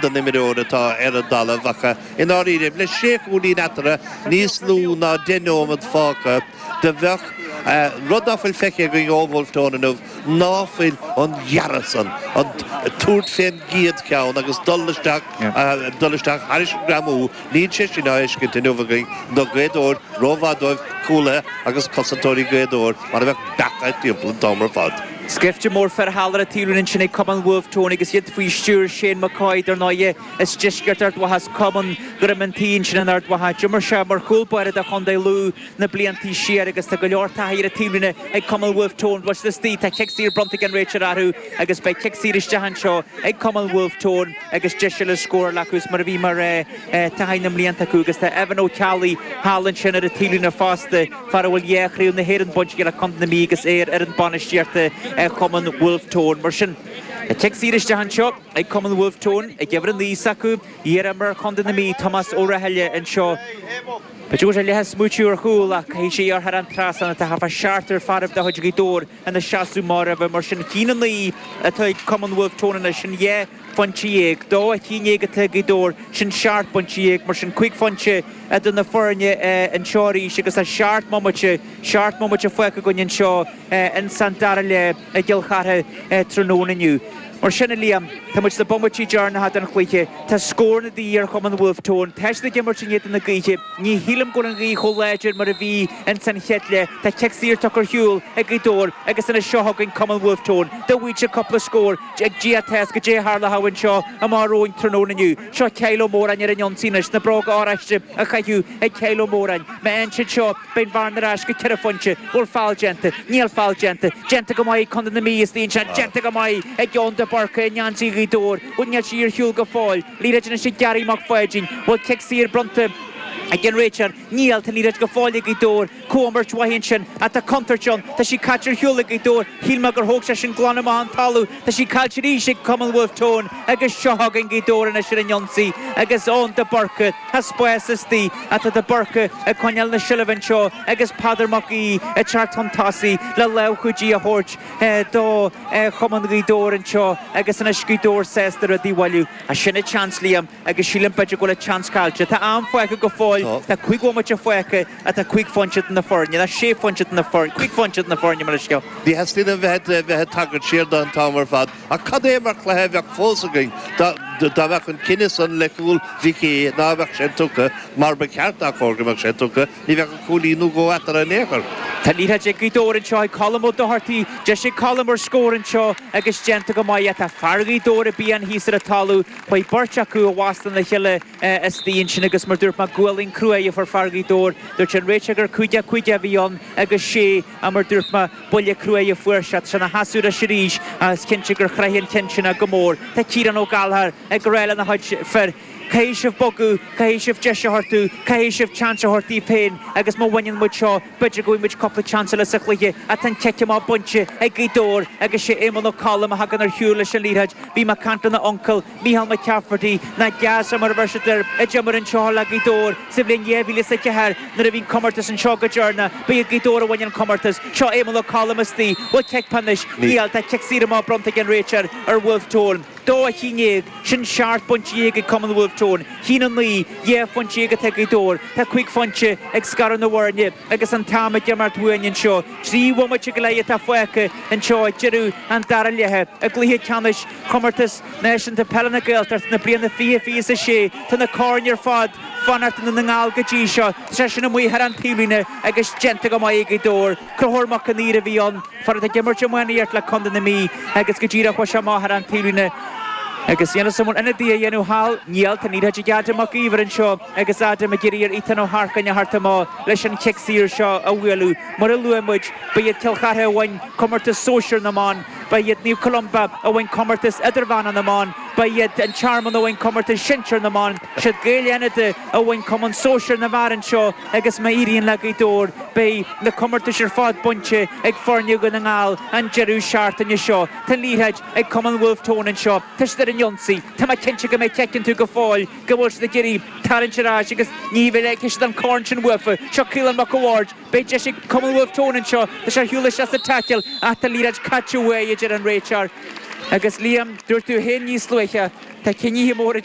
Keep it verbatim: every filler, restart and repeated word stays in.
den den imreoir atá ar an dtalamh ach i ndáiríre le sé chúilín eatarthu níos lú ná deich nóiméad fágtha do bheadh rud ná fuil feicthe againn ó Bhulf Tón inniu ná fuil an ghearradh san, an tabhairt fén gcéad cheann agus dul isteach dul isteach thairis an ngreamú, níl sé sin á fheiscint inniu againn do Ghaoth Dobhair, rómhaith dóibh cúlaithe agus cosantóirí Ghaoth Dobhair mar a bheadh beacha timpeall an t-am ar fad. Scaifte mór fir thall ar an taobhlíne ansin ag Cumann Bhulf Tón agus iad faoi stiúir Shane McCoy, dar ndóighe, as deisceart Ard Mhacha, as Cumann Dhroim an Tí ansin in Ard Mhacha. D'imir sé mar chúl báire do Chontae Lú na bliantaí siar agus tá go leor taithí ar an taobhlíne ag Cumann Bhulf Tón. Bhfuil siad istigh, tá cic saor bronnta ag an réiteoir orthu agus beidh cic saor isteach anseo ag Cumann Bhulf Tón agus deis eile scóráil acu is mar a bhí mar taithí na mblianta acu agus tá Evan Ó Ceallaigh thall ansin ar an taobhlíne fosta, fear a bhfuil dhá chraobh na hÉireann bainte aige le Contae na Mí agus é ar fhoireann bainistíochta Chumann Bhulf Tón. Mar sin, cic saor isteach anseo ag Cumann Bhulf Tón ag uimhir a naoi s'acu, iar-imreoir Chontae na Mí, Tomás Ó Rathaille anseo. B'fhéidir go bhfuil sé leath ag smaoitiú ar chúl ach caithfidh sé ar thar an trasnán atá thart fá seachtar fearaibh de chuid Ghaoth Dobhair ina seasamh amach roimhe. Mar sin, a haon a naoi atá ag Cumann Bhulf Tón anois, sin dhá phointe dhéag. Dó a haon déag atá ag Gaoth Dobhair, sin seacht bpointe dhéag. Mar sin, cúig phointe idir na foirne anseo arís agus tá seacht mbomaite, seacht mbomaite fágtha againn anseo ins an dara leath i gCill Chartha tráthnóna inniu. Mar sin, a Liam, tá muid sna bomaití deireanacha den chluiche. Tá scóranna de dhíth ar Chumann Bhulf Tón. Tá siad ag imirt in éadan na gaoithe. Ní shílim go bhfuil an ghaoth chomh láidir mar a bhí ins an chéad leath. Tá cic saor tugtha ar shiúl ag Gaoth Dobhair agus anois seo chugainn Cumann Bhulf Tón. Dá bhfaigheadh siad cúpla scór ag Dia atá 'fhios goidé a tharlódh anseo amach romhainn tráthnóna inniu. Seo Kyle Ó Móráin ar an ionsaí anois, na bróga oráiste á chaitheamh ag Kyle Ó Móráin. Má fhaigheann siad seo, beidh an bhearna ar ais go ceithre phointe. Bhfuil feall déanta? Níl feall déanta. Déanta go maith ag Contae na Mí istigh anseo. Déanta go maith ag Eoin de Búrca i ngeansaí Ghaoth Dobhair. Bhuel, níl sí ar shiúl go fóill. Liathróid anois ag Gary Mac Pháidín. Bhfuil cic saor bronnta ag an réiteoir? Níl. Tá an liathróid go fóill ag Gaoth Dobhair. Comhimirt mhaith ansin. Ach tá contúirt ann. Tá sí caite ar shiúl ag Gaoth Dobhair. Shíl mé gur thóg sé sin glan amach an talamh. Tá sí caillte arís ag Cumann Bhulf Tón agus seo chugainn Gaoth Dobhair anois ar an ionsaí agus Eoin de Búrca. Tá spás istigh ach tá de Búrca ag coinneáil na seilbhe anseo agus Peadar Mac Aoidh ag teacht chun tosaigh le lámh chúidí a thabhairt do Chumann Ghaoth Dobhair anseo agus anois Gaoth Dobhair sásta rudaí a bhailiú. Sin an tseans, Liam, agus sílim b'fhéidir go bhfuil an tseans caillte. Tá am fágtha go fóill, tá cúig bhomaite fágtha ach tá cúig phointe idir na foirne, nó sé phointe idir na foirne, cúig phointe idir na foirne mar is cionn. Ní theastaíonn uaim bheith bheith ag tagairt siar do an t-am ar fad, ach cad é mar chluiche a bheadh fós againn dá dá mbeadh an cinneadh san le cúl Mhic Aoidh, ná bheadh sé tugtha mar ba cheart dá chóir go mbeadh sé tugtha, ní bheadh ach cúilín nó dhó eatarthu in aon chor. Tá liathróid ag Gaoth Dobhair anseo ag Colm Ó Dochartaigh. Deis ag Colm ar scór anseo agus déanta go maith. Tá fear Ghaoth Dobhair ag pian thíos ar an talamh. Chuaigh beirt acu i bhfastó lena chéile istigh ansin agus mar dúirt mé gualainn cruaidh a fuair fear Ghaoth Dobhair. Dúirt an réiteoir gur cúig a cúig a bhí ann agus sé ach mar dúirt mé buille cruaidh a fuair sé. Tá sé ina sheasamh ar ais arís ach is cinnte gur chraith an ceann sin é go mór. Tá Ciarán Ó Gallchóir ag rá lena chuid fir. Caithfidh sibh bogadh, caithfidh sibh deis a thabhairt dúinn, caithfidh sibh seans a thabhairt daoibh féin agus má bhaineann muid seo, b'fhéidir go bhfaighidh muid cúpla seans eile sa chluiche ach tá an cic amach bainte ag Gaoth Dobhair agus sé Éamonn Ó Colm a thagann ar shiúl leis an liathróid. Bhí mé ag caint lena uncail, Mícheál McCafferty, nó Gaz mar a bheir siad air, a d'imir anseo le Gaoth Dobhair sa bhliain dhá mhíle is a ceathair nuair a bhí an comórtas anseo go deireanach. Ba iad Gaoth Dobhair a bhain an comórtas. Seo Éamonn Ó Colm istigh. Bhfuil cic pionóis? Níl. Tá cic saor amach bronnta ag an réiteoir ar Bhulf Tón. Dó a haon déag, sin seacht bpointe dhéag ag Cumann Bhulf Tón, haon a naoi, dhá phointe dhéag atá ag Gaoth Dobhair. Tá cúig phointe ag scaradh na bhfoirne agus an t-am ag imeacht uainn anseo. Trí bhomaite go leith atá fágtha anseo ag deireadh an dara leatha i gcluiche ceannais Chomórtas Náisiúnta Peile na Gaeltachta na bliana fiche fiche is a sé. Tá na coirn ar fad fanacht i nDún na nGall go dtí seo. Tá sé sin amuigh thar an taobhlíne agus déanta go maith ag Gaoth Dobhair. Conchúr Mac an Aoir a bhí ann. Fear atá ag imirt iománaíocht le Contae na Mí agus go díreach chuaigh sé amach thar an taobhlíne agus níl 'fhios a'm an bhfuil ionadaí á dhéanamh thall. Níl, tá an liathróid ag Adam Mac Íomhair anseo agus Adam ag iarraidh ar Ethan Ó hEarcáin a theacht amach leis an chic saor seo a bhualadh. Mar a luaigh muid, ba iad Cill Chartha a bhain comórtas sóisir na mban, ba iad Naomh Columba a bhain comórtas idirmheánach na mban, ba iad an Tearmann a bhain comórtas sinsir na mban, siad Gaeil Fhánada a bhain cumann sóisir na bhfear anseo agus má éiríonn le Gaoth Dobhair, beidh na comórtais ar fad bainte ag foirne Dhún na nGall an deireadh seachtaine seo. Tá an liathróid ag Cumann Bhulf Tón anseo. Tá siad ar an ionsaí. Tá mé cinnte go mbeidh cic iontu go fóill, go bhfuil siad ag iarraidh tarraingt ar ais agus ní bhfeicfidh siad an corn sin uafa. Seo Caolán Mac a' Bhaird. Beidh deis ag Cumann Bhulf Tón anseo. Tá sé ar shiúl isteach sa taicil ach tá an liathróid caite uaidh, a deir an réiteoir. Agus Liam, dúirt tú féin níos luaithe, tá cinnithe móra